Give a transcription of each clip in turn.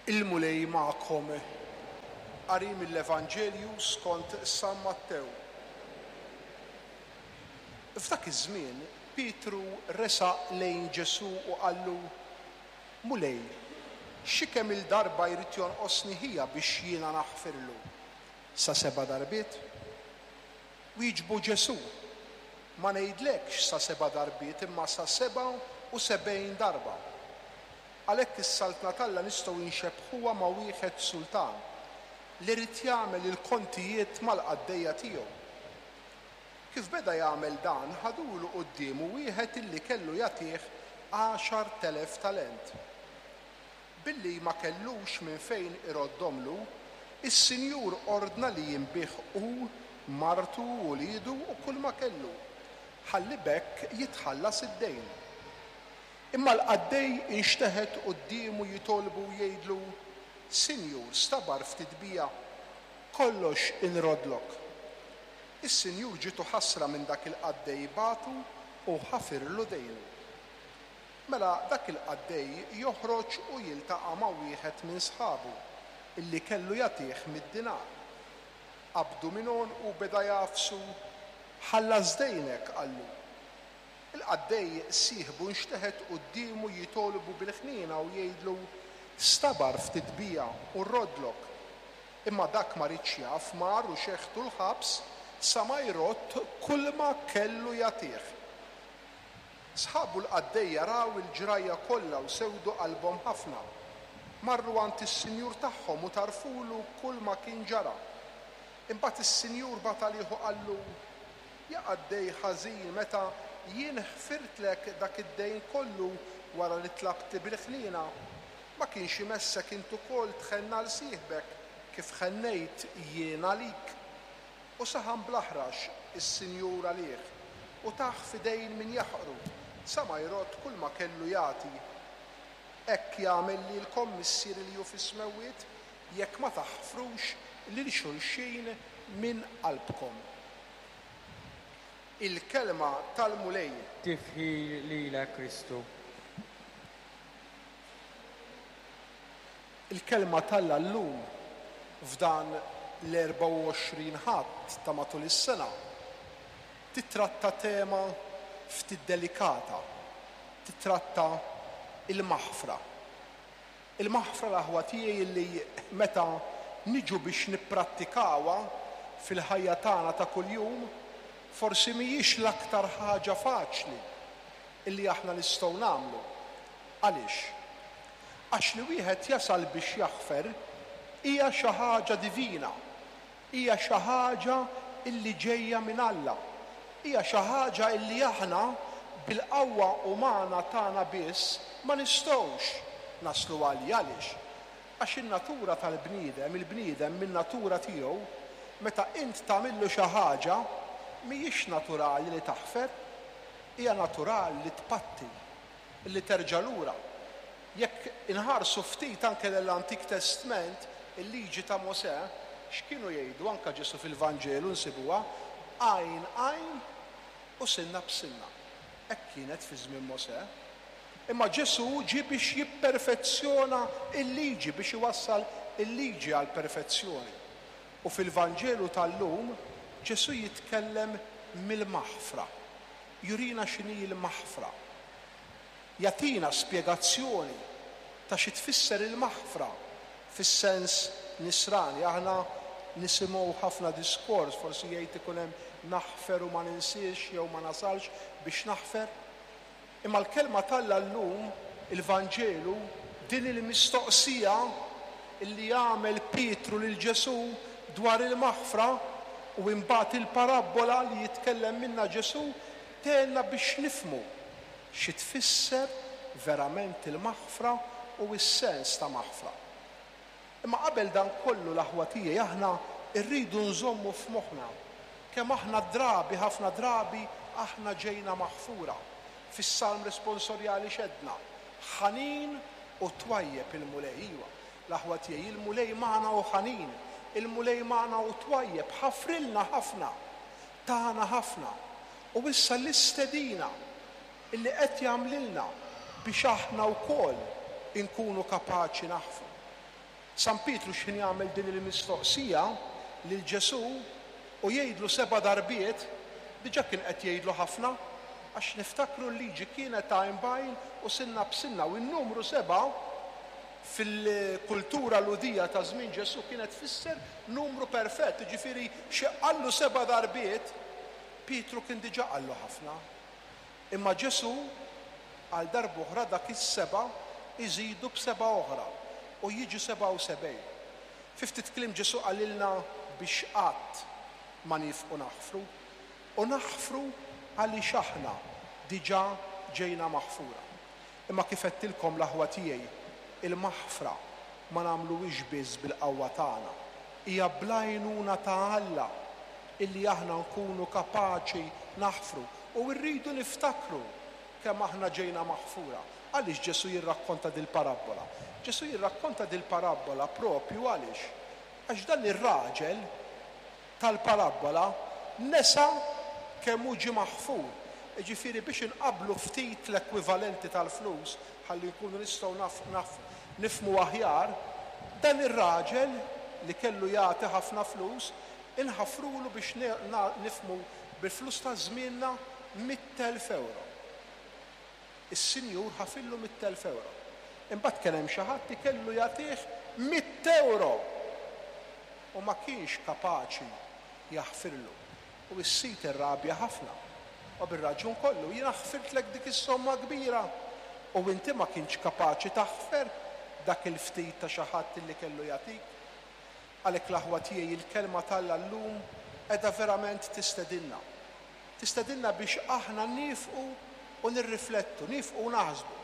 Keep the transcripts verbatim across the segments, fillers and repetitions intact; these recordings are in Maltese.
Il-Mulej magħkom. Qari mill-Evanġelju skont San Mattew. F'dak iż-żmien Pietru resaq lejn Ġesù u qallu, Mulej, xi kemm-il darba jrid jonqosni ħija biex jiena naħfirlu? Sa seba' darbiet? Wieġbu Ġesù, Ma ngħidlekx sa seba' darbiet imma sa sebgħa u sebgħin darba. Għalhekk is-Saltna t'Alla nistgħu nxebbħuha ma' wieħed sultan li ried jagħmel il-kontijiet mal-qaddejja tiegħu. Kif beda jagħmel dan, ħadulu quddiemu wieħed illi kellu jagħtih għaxart elef talent. Billi ma kellux minn fejn iroddomlu, is-Sinjur ordna li jinbiegħ hu, martu, uliedu u kull ma kellu, ħalli b'hekk jitħallas id-dejn. Imma l-qaddej inxteħet quddiemu jitolbu u jgħidlu, Sinjur, stabar ftit bija, kollox inrodlok. Is-Sinjur ġietu ħasra minn dak il-qaddej, bagħtu u ħafirlu dejnu. Mela dak il-qaddej joħroġ u jiltaqa' ma' wieħed minn sħabu illi kellu jagħtih mitt dinar. Qabdu minn għonqu u beda jagħfsu, Ħallas dejnek, qallu. Il-qaddej sieħbu nxteħet quddiemu jitolbu bil-ħniena u jgħidlu, Stabar ftit bija u rrodlok. Imma dak ma riedx jaf, mar u xeħtu l-ħabs sa ma jrodd kulma kellu jagħtih. Sħabu l-qaddejja raw il-ġrajja kollha u sewdu qalbhom ħafna. Marru għand is-sinjur tagħhom u tarfulu kulma kien ġara. Imbagħad is-sinjur bagħat għalih u qallu, Ja qaddej ħażin, meta jien ħfirtlek dak id-dejn kollu wara li tlabtli bil-ħniena, ma kienx imessek int ukoll tħenn għal sieħbek kif ħennejt jien għalik? U saħan bl-aħrax is-sinjur għalih u tah f'idejn min jaħqru sa ma jrodd kulma kellu jagħti. Hekk jagħmel lilkom Missieri li hu fis-smewwiet jekk ma taħfrux lil xulxin minn qalbkom. Il-kelma tal-Mulej. Tifħir lilek, Kristu. Il-kelma t'Alla llum f'dan l-erbgħa u għoxrin Ħadd ta' matul is-sena titratta tema ftit delikata, titratta il-maħfra. Il-maħfra, l-aħwa tiegħi, li meta niġu biex nipprattikawha fil-ħajja tagħna ta' kuljum, forsi mhijiex l-aktar ħaġa faċli illi aħna nistgħu nagħmlu. Għaliex? Għax li wieħed jasal biex jaħfer hija xi ħaġa divina, hija xi ħaġa illi ġejja minn Alla, hija xi ħaġa illi aħna bil-qawwa umana tagħna biss ma nistgħux naslu għaliha. Għaliex? Għax in-natura tal-bniedem, il-bniedem min-natura tiegħu, meta int tagħmillu xi ħaġa, mhijiex naturali li taħfer, hija naturali li tpatti, li terġa' lura. Jekk inħarsu ftit anke l-Antik Testment, il-liġi ta' Mosè, x'kienu jgħidu? Anke Ġesù fil-Vanġelu nsibuha, għajn għajn u sinna b'sinna. Hekk kienet fi żmien Mosè. Imma Ġesù ġie biex jipperfezzjona l-liġi, biex iwassal il-liġi għall-perfezzjoni. U fil-Vanġelu tal-lum Ġesù jitkellem mill-maħfra. Jurina x'inhi l-maħfra. Jagħtina spjegazzjoni ta' xi tfisser il-maħfra fis-sens nisrani. Aħna nisimgħu ħafna diskors, forsi jgħid ikun hemm naħfer u ma ninsiex jew ma nasalx biex naħfer. Imma l-kelma t'Alla llum, il-Vanġelu, din il-mistoqsija li għamel Pietru lil Ġesù dwar il-maħfra u imbagħad il-parabbola li jitkellem minna Ġesù tgħinna biex nifhmu xi tfisser verament il-maħfra u s-sens ta' maħfra. Imma qabel dan kollu, l-aħwa tiegħi, aħna rridu nżommu f'moħħna kemm aħna drabi, ħafna drabi, aħna ġejna maħfura. Fis-salm responsorjali xedna, ħanin u twajjeb il-Mulej. Iva, l-aħwa tiegħi, il-Mulej magħna u ħanin, il-Mulej magħna u twajjeb, ħafrilna ħafna, tana ħafna. U issa l-istedina illi qed jagħmlilna biex aħna wkoll inkunu kapaċi naħfru. San Pietru x'ħin jagħmel din il-mistoqsija lil Ġesù u jgħidlu seba' darbiet, diġà kien qed jgħidlu ħafna, għax niftakru l-liġi kienet għajn b'għajn u sinna b'sinna, u n-numru seba' fil-kultura Lhudija ta' żmien Ġesù kienet tfisser numru perfett, jiġifieri xi qallu seba' darbiet, Pietru kien diġà qallu ħafna. Imma Ġesù għal darb'oħra dak is-seba' iżidu b'seba' oħra u jiġu sebgħa u sebgħin. Fi ftit kliem Ġesù qalilna biex qatt ma nifqu naħfru, u naħfru għaliex aħna diġà ġejna maħfura. Imma kif għedtilkom l-aħwa tiegħi, il-maħfra ma nagħmluhiex biss bil-qawwa tagħna, hija bl-għajnuna ta' Alla illi aħna nkunu kapaċi naħfru. U rridu niftakru kemm aħna ġejna maħfura. Għaliex Ġesù jirrakkonta dil-parabbola? Ġesù jirrakkonta dil-parabbola propju għaliex? Għax dan ir-raġel tal-parabbola nesa kemm hu ġie maħfur. Jiġifieri biex inqabblu ftit l-ekwivalenti tal-flus ħalli nkunu nistgħu naf, naf, nifhmu aħjar, dan ir-raġel li kellu jagħti ħafna flus inħafrulu biex ne-, na-, nifhmu bil-flus ta' żmienna mitt elf euro. Is-sinjur ħafillu mitt elf euro. Imbagħad kien hemm xi ħadd li kellu jagħtih mitt euro u ma kienx kapaċi jaħfirlu. U s-sid irrabja ħafna. U bir-raġun kollu, jiena ħfirtlek dik is-somma kbira u inti ma kienx kapaċi taħfer dak il-ftit ta' xi ħadd li kellu jagħtik. Għalhekk l-aħwa tiegħi, il-kelma t'Alla llum qiegħda verament tistedinna. Tistedinna biex aħna nifqu u nirriflettu, nifqu u naħsbu.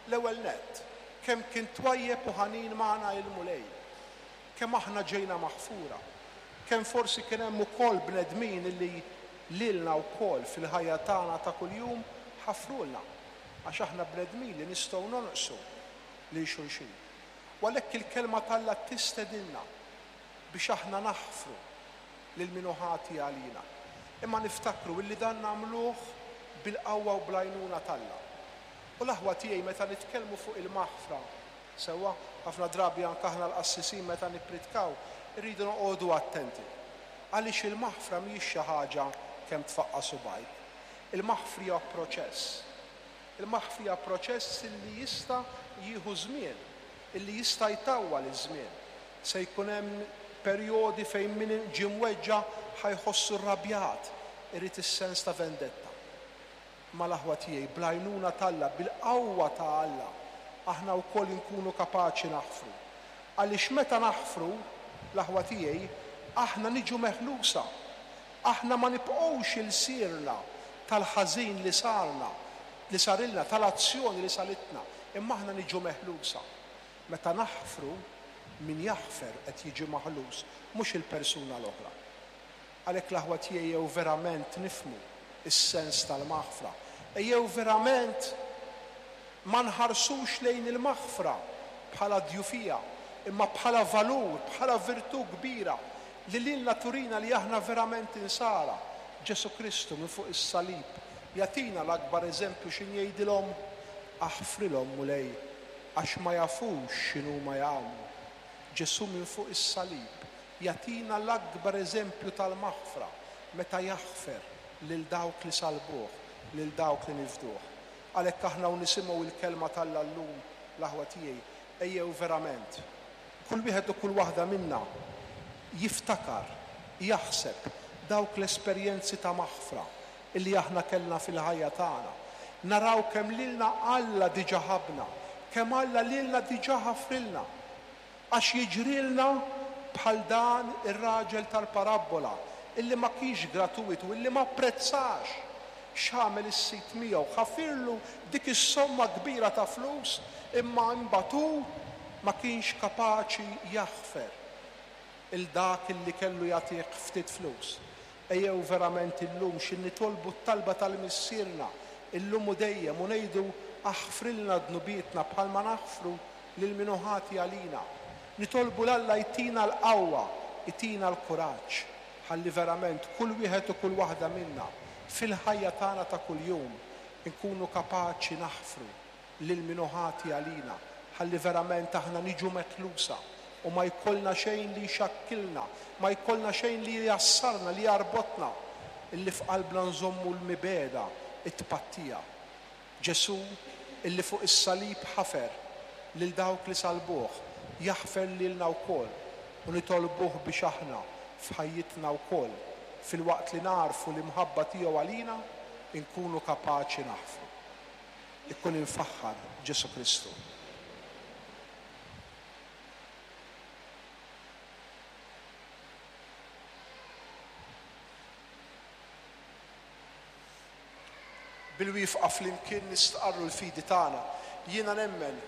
L-ewwel nett, kemm kien twajjeb u ħanin magħna il-Mulej, kemm aħna ġejna maħfura, kemm forsi kien hemm ukoll bnedmin illi lilna wkoll fil-ħajja tagħna ta' kuljum ħafrulna, għax aħna bnedmin li nistgħu nonqsu lil xulxin. U għalhekk il-kelma t'Alla tistedinna biex aħna naħfru lil min hu ħati għalina. Imma niftakru illi dan nagħmluh bil-qawwa u bl-għajnuna t'Alla. U l-aħwa tiegħi meta nitkellmu fuq il-maħfra, sewwa ħafna drabi anke aħna l-qassisin meta nippritkaw, irridu noqogħdu attenti. Għaliex il-maħfra mhijiex xi ħaġa kemm tfaqqa' subgħajk. Il-maħfra hija proċess. Il-maħfra hija proċess illi jista' jieħu żmien, illi jista' jtawwal iż-żmien. Se jkun hemm perjodi fejn min ġie mweġġa' ħajħossu rrabjat, irid is-sens ta' vendetta. Ma l-aħwa tiegħi, bl-għajnuna t'Alla, bil-qawwa ta' Alla, aħna wkoll inkunu kapaċi naħfru. Għaliex meta naħfru, l-aħwa tiegħi, aħna niġu meħlusa. Aħna ma nibqgħux ilsirna tal-ħażin li sarna, li sarilna, tal-azzjoni li salitna, imma aħna niġu meħlusa. Meta naħfru, min jaħfer qed jiġi maħlus, mhux il-persuna l-oħra. Għalhekk l-aħwa tiegħi jew verament nifhmu is-sens tal-maħfra. Ejjew verament ma nħarsux lejn il-maħfra bħala djufija, imma bħala valur, bħala virtù kbira li lilna turina li aħna verament insara. Ġesù Kristu minn fuq is-salib jagħtina l-akbar eżempju x'in jgħidilhom, aħfrilhom Mulej, għax ma jafux x'inhu ma jagħmlu. Ġesù minn fuq is-salib jagħtina l-akbar eżempju tal-maħfra meta jaħfer lil dawk li salbuh, lil dawk li nifduh. Għalhekk aħna u nisimgħu il-kelma t'Alla llum, l-aħwa tiegħi, ejjew verament kull wieħed u kull waħda minna jiftakar, jaħseb dawk l-esperjenzi ta' maħfra illi aħna kellna fil-ħajja tagħna. Naraw kemm lilna Alla diġà ħabna, kemm Alla lilna diġà ħafrilna. Għax jiġrilna bħal dan ir-raġel tal-parabbola illi ma kienx gratuitu, illi ma apprezzax x'għamel is-sid miegħu, ħafirlu dik is-somma kbira ta' flus, imma imbagħad hu ma kienx kapaċi jaħfer il dak illi kellu jagħtih ftit flus. Ejjew verament illum xi nitolbu t-talba tal-Missierna illum u dejjem u ngħidu aħfrilna dnubietna bħalma naħfru lil min hu ħati għalina. Nitolbu 'l Alla jtina l-qawwa, jtina l-kuraġġ, ħalli verament kull wieħed u kull waħda minna fil-ħajja tagħna ta' kuljum inkunu kapaċi naħfru lil min hu ħati għalina, ħalli verament aħna niġu meħlusa U ma jkollna xejn li jxakkilna, ma jkollna xejn li jassarna, li jarbotna, illi f'qalbna nżommu l-mibegħda, it-tpattija. Ġesù illi fuq is-salib ħafer lil dawk li salbuh, jaħfer lilna wkoll, u nitolbuh biex aħna f'ħajjitna wkoll, filwaqt li narfu l-imħabba tiegħu għalina, inkunu kapaċi naħfru. Ikun imfaħħar Ġesù Kristu. Bil-wifqa flimkien nistqarru l-fidi tagħna. Jiena nemmen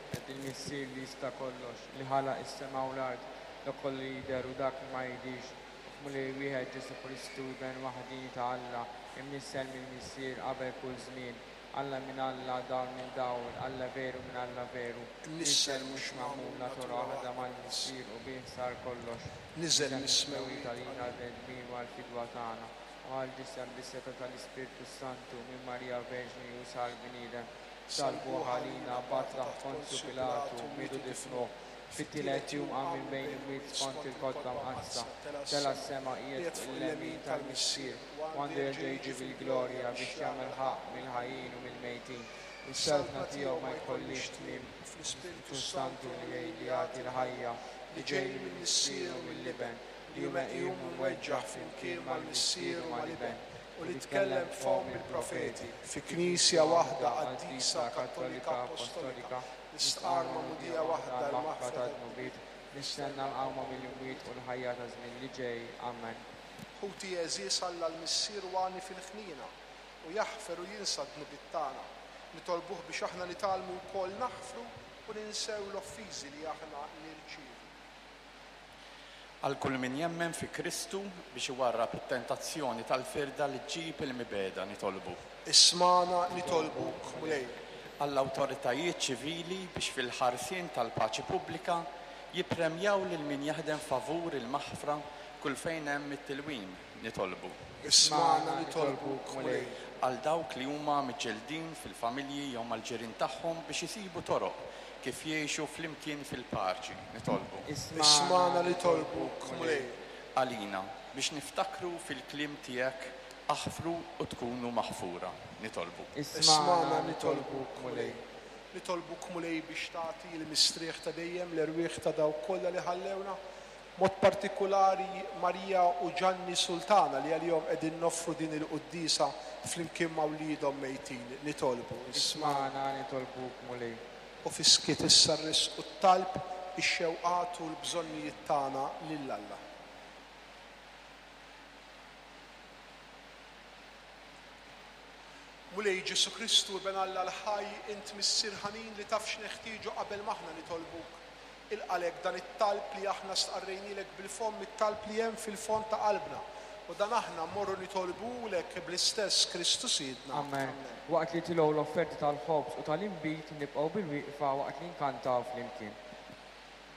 Ed il-Missier li jista' kollox, li ħalaq is-sema u l-art, dak kollu li jidher u dak li ma jidhirx, u f'Mulej wieħed Ġesù Kristu, Iben waħdieni ta' Alla, imnissel mill-Missier qabel kull żmien, Alla minn Alla, dawl minn dawl, Alla veru minn Alla veru, Imnissel mhux magħmul, natura waħda mal-Missier u bih sar kollox. Niżel mis-smewwiet għalina l-bnedmin u għall-fidwa tagħna, u għall-ġisem bis-setgħa tal-Ispirtu Santu minn Marija Verġni u sar bniedem. Salbuh għalina, bagħat taħt Ponzju Pilatu, mietu difnuh. Fit-tielet jum qam minn bejn imwiet skont il-Kotba Mqaddsa. Tela' s-sema qiegħed fuq il-lemin tal-Missier, u għandu jerġa' jiġi bil-glorja biex jagħmel ħaqq mill-ħajjin u mill-mejtin. U s-saltna tiegħu ma jkollhiex tmiem. Fl-Ispirtu Spiritu Santu li jgħid li jagħti l-ħajja, li ġej mill-Missier u mill-Iben, li hu meqjum u mweġġaħ flimkien mal-Missier u mal-Iben, u li tkellem b'fomm il-profeti, fi Knisja waħda qaddisa, Kattolika, Apostolika, nistqarr magħmudija waħda l-maħfra tad-dnubiet, nistenna l-qawma mill-imwiet u l-ħajja ta' żmien li ġej. Amen. Ħuti għeżież, Alla l-Missier u għani fil-ħniena u jaħfer u jinsa d-dnubiet tagħna. Nitolbuh biex aħna nitgħallmu wkoll naħfru u ninsew l-offiżi li aħna nirċievu. Għal kull min jemmen fi Kristu biex iwarrab it-tentazzjoni tal-firda li ġġib il-mibegħda, nitolbu. Ismagħna nitolbuk, Mulej. Għall-awtoritajiet ċivili biex fil-ħarsien tal-paċi pubblika jippremjaw lil min jaħdem favur il-maħfra kull fejn hemm it-tilwim, nitolbu. Ismagħna nitolbuk, Mulej. Għal dawk li huma miġġeldin fil-familji jew mal-ġirien tagħhom biex isibu toroq kif jgħixu flimkien fil-paċi, nitolbu. Ismagħna nitolbuk, Mulej. Għalina biex niftakru fil-kliem tiegħek, aħfru u tkunu maħfura, nitolbu. Ismagħna nitolbuk, Mulej. Nitolbuk, Mulej, biex tagħti l-mistrieħ ta' dejjem l-erwieħ ta' dawk kollha li ħallewna, mod partikolari Marija u Ġanni Sultana li għalihom qegħdin noffru din il-quddiesa flimkien ma' wliedhom mejtin. Nitolbu. Ismagħna nitolbuk, Mulej. U fiskiet issa rrisqu t-talb, ix-xewqat u l-bżonnijiet tagħna lil Alla. Mulej Ġesù Kristu, Iben Alla l-ħaj, int Missier ħanin li taf x'neħtieġu qabel m'aħna nitolbuk. Ilqalek dan it-talb li aħna stqarrejnilek bil-fomm, it-talb li hemm fil-fond ta' qalbna. U dan aħna mmorru nitolbulek bl-istess Kristu Sidna. Amen. Waqt li tilgħu l-offerti tal-ħobż u tal-inbid nibqgħu bil-wieqfa waqt li nkantaw flimkien.